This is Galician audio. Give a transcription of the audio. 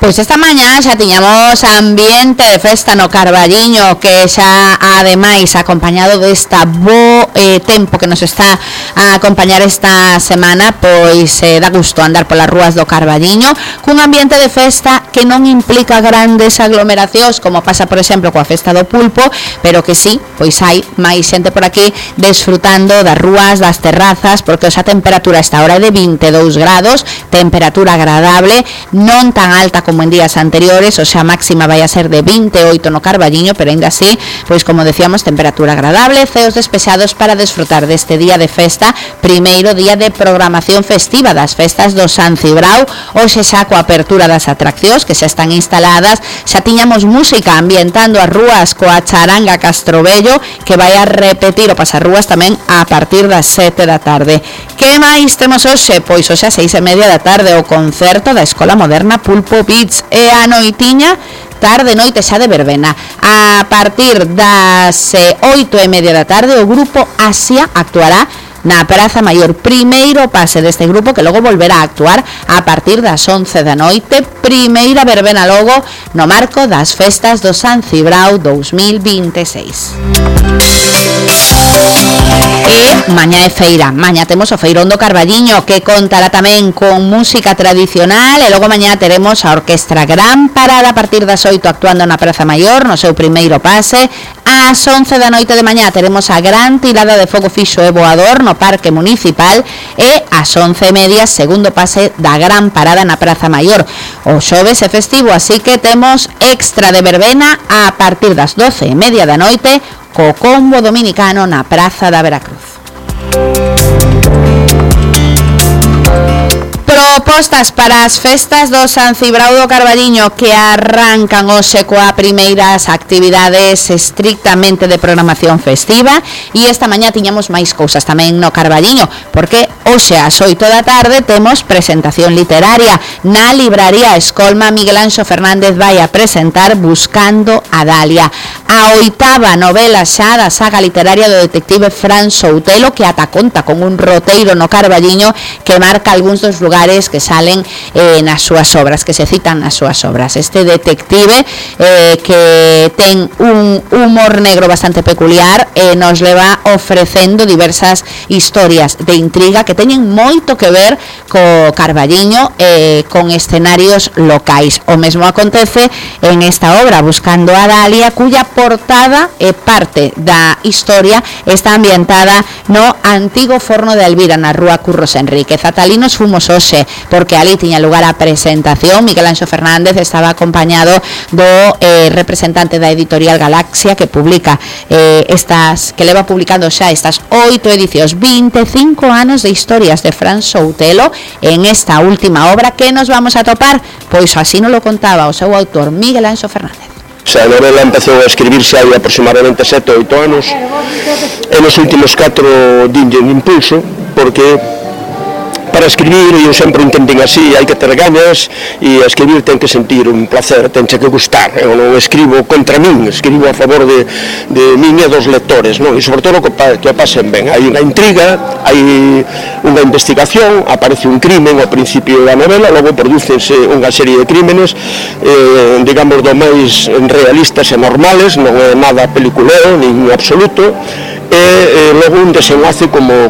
Pois esta mañá xa tiñamos ambiente de festa no Carballiño, que xa ademais acompañado desta bo tempo que nos está a acompañar esta semana, pois dá gusto andar polas rúas do Carballiño cun ambiente de festa que non implica grandes aglomeracións como pasa por exemplo coa festa do pulpo, pero que sí, pois hai máis xente por aquí desfrutando das rúas, das terrazas, porque a temperatura esta hora é de 22 grados, temperatura agradable, non tan alta como en días anteriores, o sea, máxima vai a ser de 28 no Carballiño, pero ainda así, pois como decíamos, temperatura agradable, ceos despejados para desfrutar deste día de festa, primeiro día de programación festiva das festas do San Cibrao, hoxe xa coa apertura das atraccións que xa están instaladas, xa tiñamos música ambientando as rúas coa charanga Castrobello, que vai a repetir o pasarrúas tamén a partir das 7 da tarde. Que máis temos hoxe? Pois hoxe a 6:30 da tarde o concerto da Escola Moderna Pulpo Beats e a noitiña tarde noite xa de verbena. A partir das 8:30 da tarde o grupo Asia actuará na Praza Maior, primeiro pase deste grupo que logo volverá a actuar a partir das 11 da noite, primeira verbena logo no marco das festas do San Cibrao 2026. E mañá é feira, mañá temos o Feirón do Carballiño que contará tamén con música tradicional e logo mañá teremos a Orquestra Gran Parada a partir das 8 actuando na Praza Maior no seu primeiro pase. Ás 11 da noite de mañá teremos a gran tirada de fogo fixo e voador no Parque Municipal e ás 11:30 segundo pase da Gran Parada na Praza Maior. O xoves é festivo, así que temos extra de verbena a partir das 12:30 da noite co combo dominicano na Praza da Veracruz. Propostas para as festas do San Cibrao do Carballiño que arrancan hoxe coa primeiras actividades estrictamente de programación festiva, e esta mañá tiñamos máis cousas tamén no Carballiño, porque hoxe ás 8 da tarde temos presentación literaria na libraría Escolma. Miguel Anxo Fernández vai a presentar Buscando a Dalia, a 8ª novela xa da saga literaria do detective Fran Soutelo, que ata conta con un roteiro no Carballiño que marca algúns dos lugares que salen nas súas obras, que se citan nas súas obras. Este detective que ten un humor negro bastante peculiar nos leva ofrecendo diversas historias de intriga que teñen moito que ver co Carballiño con escenarios locais. O mesmo acontece en esta obra Buscando a Dalia, cuya portada e parte da historia está ambientada no antigo forno de Elvira na rúa Curros Enríquez. Atalinos fomos hoxe porque ali tiña lugar a presentación. Miguel Anxo Fernández estaba acompañado do representante da editorial Galaxia que publica que leva publicando xa estas 8 edicións, 25 anos de historias de Fran Soutelo en esta última obra que nos vamos a topar, pois así nos lo contaba o seu autor Miguel Anxo Fernández. A novela empezou a escribirse hai aproximadamente 7 ou 8 anos e nos últimos 4 dinlle un impulso, porque para escribir, eu sempre entendín así, hai que ter ganas, e a escribir ten que sentir un placer, tenche que gustar. Eu non escribo contra min, escribo a favor de min e dos lectores, non? E sobre todo que o pasen ben. Hai unha intriga, hai unha investigación, aparece un crimen ao principio da novela, logo prodúcense unha serie de crímenes, digamos, do máis realistas e normales, non é nada peliculeo, nin absoluto, e logo un desenlace como